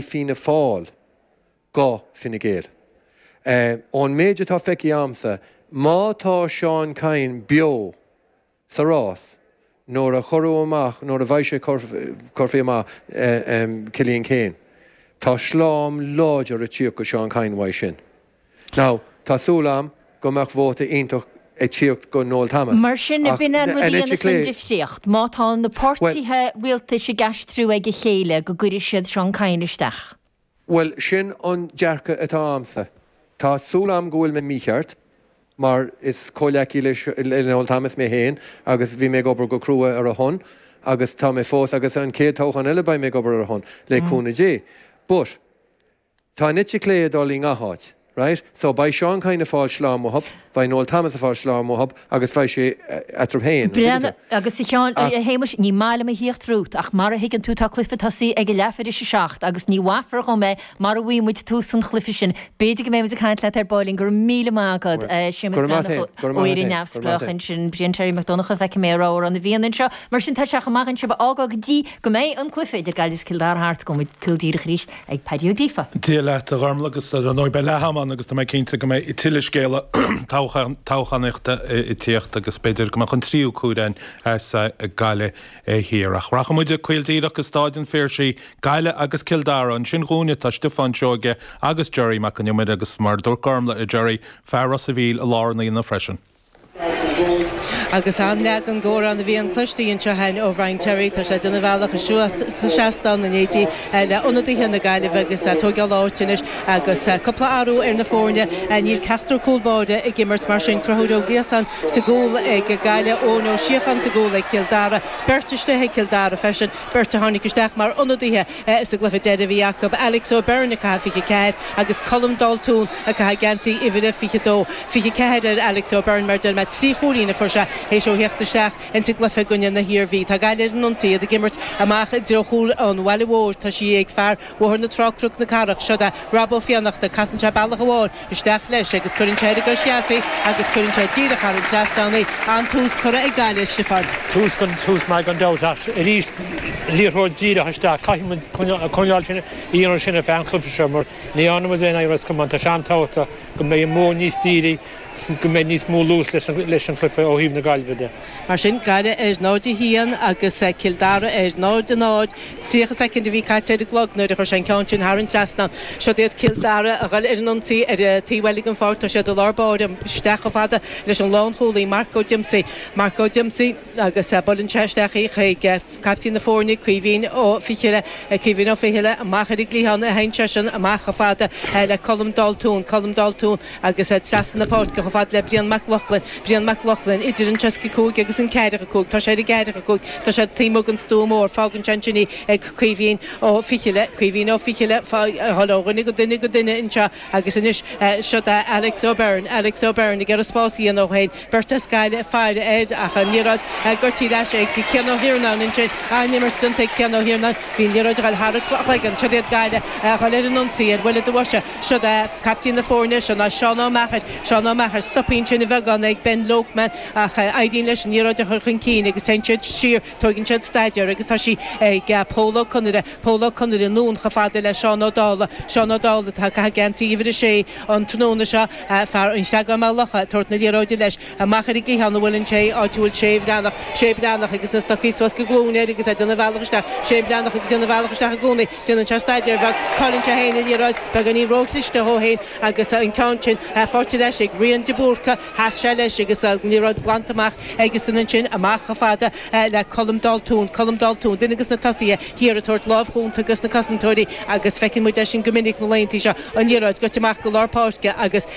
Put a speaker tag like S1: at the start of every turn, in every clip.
S1: Fianna Fáil go Fine Gael. Ón méid atá feicthe a'msa, má tá Seán Kyne beo sa rás nuair a cuireadh amach, nuair a bheidh sé curtha amach Cillian Keane, tá slám láidir ag tíocht go Seán Kyne uaidh sin. Now, tá súil a'm go mbeadh vóta iontach ag tíocht go Noel Thomas.
S2: Mar sin,
S1: Ach
S2: b'in an rud a
S1: an eite
S2: dhéanfas an
S1: chlé,
S2: difríocht. Má tá na
S1: bhuel,
S2: páirtithe rialtais ag aistriú ag a chéile go gcuirfidh siad Seán Kyne isteach.
S1: Bhuel, sin an dearcadh atá a'msa. Tá súil a'm go bhfuil mé mícheart, mar is comhghleacaí le Noel Thomas mé féin agus bhí mé ag obair go crua ar a shon agus tá mé fós agus an chéad toghchán eile beidh mé ag obair ar a shon, le cúnamh Dé. But. Tá an eite chlé ag dul i ngach áit, right? So beidh Seán Kyne ag fáil slám uathub, beidh Noel Thomas ag fáil slám uathub agus beidh sé eatarthu féin, an dtuigeann tú?
S2: Agus a Sheáin, a Shéamais, ní maith liom a thíocht romhat ach mar a thuigeann tú tá cluiche tosaithe ag a leath tar éis a 7 agus ní mhaithfear dhom é mara bhfaighidh muid tús an chluiche sin. B'fhéidir go mbeidh muid ag caint leat ar baillín. Go raibh míle maith agat, Séamus
S1: Go raibh maith
S2: Breathnach
S1: a't
S2: ó
S1: féin, go raibh maith a't
S2: Éire
S1: féin, go raibh maith
S2: Neamhspleách
S1: a't féin.
S2: ansin. Brian Terry Mac Donncha, feicfidh mé a raibh ar an a bhíonn anseo. Mar sin tá sé chomh maith againn sibh a fhágáil go dtí go mbeidh an cluiche idir Gaillimh is Cill Dara thart. Gabhfaidh muid caol díreach arís. ag Paddy Ó Gríofa.
S3: Dia leat, a Ghormlaith, agus ar ndóigh beidh leath am ann agus tá mé cinnte go mbeidh tuilleadh scéala toghchánaíochta ag tíocht agus b'fhéidir go mbeadh an tríú cuairteán as Gaillimh Thiar. Ach rachaidh muid caol díreach go Stáid an Phiarsaigh, Gaillimh agus Cill Dara. Ansin dhúinne tá Stiofán Seoige agus Gerry Mac Con Iomaire agus mar a dúirt Gormlaith a Gerry, fear Ros a' Mhíl i lár an aonaigh freisin.
S4: Agus an-leagan d'amhrán a bhíonn cloiste anseo againn ó Bhrian Terry. Tá sé ag déanamh a bhealach suas sa seastán in éindí le ionadaithe na Gaillimhe agus ag tóigeáil áite anois agus cúpla athrú ar na foirne. Níl ceachtar cúl báire ag imirt mar sin Conchúr Ó Gliasáin sa gcúl ag Gaillimh, Eoin Ó Síocháin sa gcúl ag Cill Dara. Beirt istigh ag Cill Dara freisin, beirt a tháinig isteach mar ionadaithe sa gcluiche deiridh a bhí acu, Alex O'Byrne ag caitheamh 24 agus Colm Daltún ag caitheamh geansaí uimhir a 22. 24 ar Alex O'Byrne mar deir mé, 3 chúilín a fuair sé théis dó theacht isteach insa gcluiche i gcoinne na hIarmhí. Tá Gaillimh ar an ionsaí, iad ag imirt amach i dtreo chúl an Bhaile Mhóir. Tá sí ag fear Bhóthar na Trá Cnoc na Cathrach. Seo é Rob Ó Fiannachta. Casann sé bealach amháin isteach leis agus cuireann sé ar an gcois dheas í agus cuireann sé díreach thar an trasnán í. An-tús curtha ag Gaillimh, Stiofán.
S5: Tús gan tús maith gan dabht ach arís liathróid díreach isteach. Caithfidh muid coinneáil sin a dhéanamh sin ar feadh an chluiche seo mar ní dhearna muid aon Ros Comáin. Tá sé an-tábhachtach go mbeidh an modh níos dírí agus go mbeidh níos mó luas leis an chluiche ó thaobh na Gaillimhe de.
S4: Mar sin, Gaillimh ar 0-1 agus Cill Dara ar 0-0. 30 soicind a bhí caite ar an gclog nuair a chuir sé an ceann sin thar an trasnán. Siod iad Cill Dara a dhul ar an ionsaí ar an taobh eile den pháirc. Tá siad i lár báire, isteach chomh fada leis an lánchúlaí Mark O'Dempsey. Mark O'Dempsey agus buaileann sé isteach í chuig caiptín na foirne, Caoimhín Ó Fichille. Caoimhín Ó Fichille amach ar an gcliathán a théann seisean amach chomh fada le Colm Daltún. Colm Daltún agus trasna na páirce chomh fada le Brian Mac Lochlainn. Brian Mac Lochlainn idir an 65 agus an 45. Tá sé ar an 45. Tá sé taobh amuigh den stua mór. Fágann sé ansin í ag Caoimhín Ó Fichille. Caoimhín Ó Fichille ag dul ó dhuine go duine go duine anseo agus anois siod é Alex O'Byrne. Alex O'Byrne ag iarraidh spás a dhéanamh dó féin. Beirt as Gaillimh ag faire air ach an liathróid goite ar ais ag Cian Ó hIarnáin ansin. An-imirt déanta ag Cian Ó hIarnáin. Bhí an liathróid ag dul thar a chloigeann. Siod iad Gaillimh ag dul ar an ionsaí ar bhuille do bhoise. Siod é caiptín na foirne, seo ná Seán Ó Meachair. Seán Ó Meachair, stoptha ansin a bheagán ag Ben Lokeman ach éiríonn leis an liathróid a chur chun cinn agus téann siad siar, tóigeann siad staidéar agus tá sí ag Pól Ó Conaire. Pól Ó Conaire anonn chomh fada le Seán Ó Dálaigh. Seán Ó Dálaigh atá ag caitheamh geansaí uimhir a sé an tráthnóna seo, fear an Chreagáin Maigh Locha ag tabhairt na liathróide leis. Amach ar an gcliathán a bhfuileann sé, áit a bhfuil Shane Breathnach. Shane Breathnach agus na stocaí suas go glúin air agus é ag déanamh a bhealach isteach. Shane Breathnach agus déanamh a bhealach isteach i gcónaí. Déanann sé staidéar beag, cailleann sé féin an liathróid, beagáinín róchliste dhó féin agus an ceann sin faighte ar ais ag Rian de Búrca. Sheas sé leis agus an liathróid glanta amach aigesan ansin, amach chomh fada le Colm Daltún. Colm Daltún, duine de na tosaithe thiar ag tabhairt lámh chúnta dos na cosantóirí agus feiceann muid é sin go minic na laethanta seo. An liathróid goite amach go lár páirce agus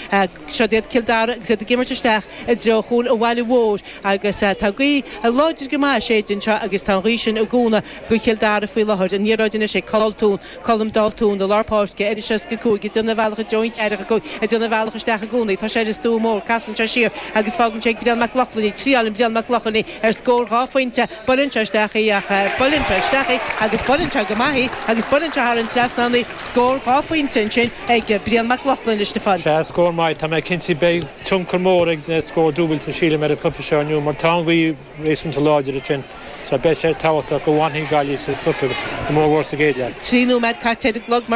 S4: siod iad Cill Dara agus iad ag imirt isteach i dtreo chúl an bhaile mhóir agus tá gaoth láidir go maith ag séideadh anseo agus tá an ghaoth sin ag cúnamh do Chill Dara faoi láthair. An liathróid anois ag Colm Daltún, Colm Daltún i lár páirce ar an 65 ag déanamh a bhealach i dtreo an 45 ag déanamh a bhealach isteach i gcónaí. Tá sé ar an stua. bua mór. Casann sé siar agus fágann sé ag Brian Mac Lochlainn í. Triáileann Brian Mac Lochlainn í ar scór 2 phointe. Buaileann sé isteach í ach buaileann sé isteach í agus buaileann sé go maith í agus buaileann sé thar an trasnán í. Scór 2 phointe ansin ag Brian Mac Lochlainn a Stiofáin.
S5: Sea, scór maith. Tá mé cinnte beidh tionchar mór ag na scóir dúbailte sílim ar an chluiche seo inniu mar tá an ghaoth réasúnta láidir ansin so beidh sé tábhachtach go bhfanfaidh Gaillimh sa chluiche go mór mhór sa gcéad leath.
S4: 3 nóiméad caite ar an gclog.